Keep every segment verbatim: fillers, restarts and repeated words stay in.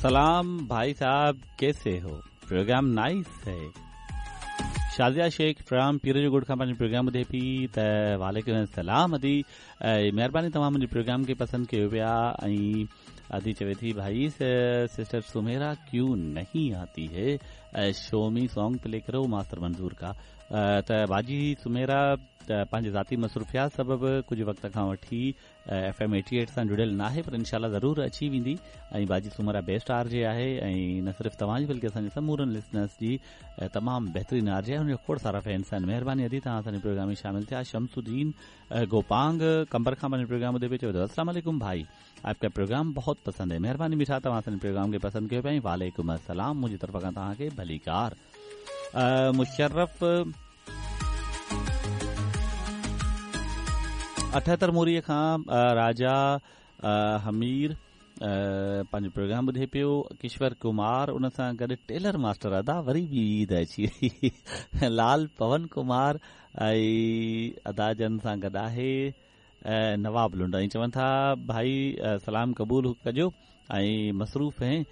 सलाम भाई साहब, कैसे हो? प्रोग्राम नाइस है। शाज़िया शेख फ्राम पीर जो ॻोठ खां पंहिंजो प्रोग्राम ॿुधे पई त वालेकुम सलाम अदी, महिरबानी तव्हां मुंहिंजे प्रोग्राम खे पसंदि कयो पिया। ऐं अदी चवे थी भाई सिस्टर सुमेरा क्यों नहीं आती है, शोमी सॉन्ग प्ले करो मास्टर मंजूर का। त बाजी सुमेरा त पंहिंजे ज़ाती मसरूफ़ियात सबबु कुझु वक़्त खां वठी एफ एम एटी एट सां जुड़ियल न आहे, पर इंशाल्लाह ज़रूरु अची वेंदी। ऐं बाजी सुमेरा बेस्ट आर जे आहे ऐं न सिर्फ़ु तव्हांजी बल्कि असांजे समूरनि लिसनर्स जी तमामु बहितरीन आर जे आहे, हुनजा खोड़ सारा फैंस आहिनि। महिरबानी अदी तव्हां असांजे प्रोग्राम में शामिल थिया। शमसुद्दीन गोपांग कंबर खां पंहिंजो प्रोग्राम ॿुधे पियो, चवे थो अस्सलाम वालेकुम भाई, आपका प्रोग्राम बहुत पसंद है। महिरबानी मिठा, तव्हां असांजे प्रोग्राम खे पसंदि कयो पिया। वालेकुम अस्सलाम, मुंहिंजी तरफ़ खां तव्हांखे भलीकार। मुशर्रफ अठहतरि मोरीअ खां राजा हमीर पंहिंजो प्रोग्राम ॿुधे पियो। किश्वर कुमार उन सां गॾु टेलर मास्टर अदा वरी बि ईद अची वई। लाल पवन कुमार ऐं अदा जन सां गॾु आहे नवाब लुंड। ऐं चवनि था भाई सलाम क़बूल कजो ऐं मसरूफ़ हैं,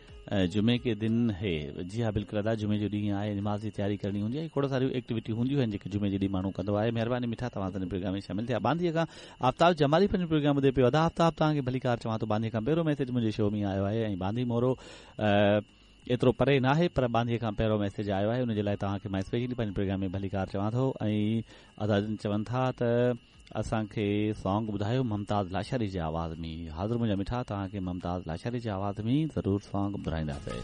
जुमे के दिन है। जी हा बिल्कुलु अदा, जुमे जो ॾींहुं आहे, नमाज़ जी तयारी करणी हूंदी आहे, खोड़ सारियूं एक्टिविटी हूंदियूं आहिनि जेके जुमे जे ॾींहुं माण्हू कंदो आहे। महिरबानी मिठा, तव्हां असांजे प्रोग्राम में शामिल थिया। बांदीअ खां आफ़ताब जमाली पंहिंजो प्रोग्राम ॿुधे पियो। अदा आफ़ताब, तव्हांखे भलीकार चवां थो। बांदीअ खां पहिरियों मैसेज मुंहिंजे शो में आयो आहे ऐं बांदी मोरो एतिरो परे न आहे, पर बांदीअ खां पहिरियों मैसेज आयो आहे, उनजे लाइ तव्हांखे मां स्पेशली पंहिंजे प्रोग्राम में भलीकार चवां थो। ऐं अदा चवनि था त असांखे सॉन्ग ॿुधायो मुमताज़ लाशारी जे आवाज़ में। हाज़िर मुंहिंजा मिठा, तव्हांखे मुमताज़ लाशारी जे आवाज़ में ज़रूरु सॉन्ग ॿुधाईंदासीं।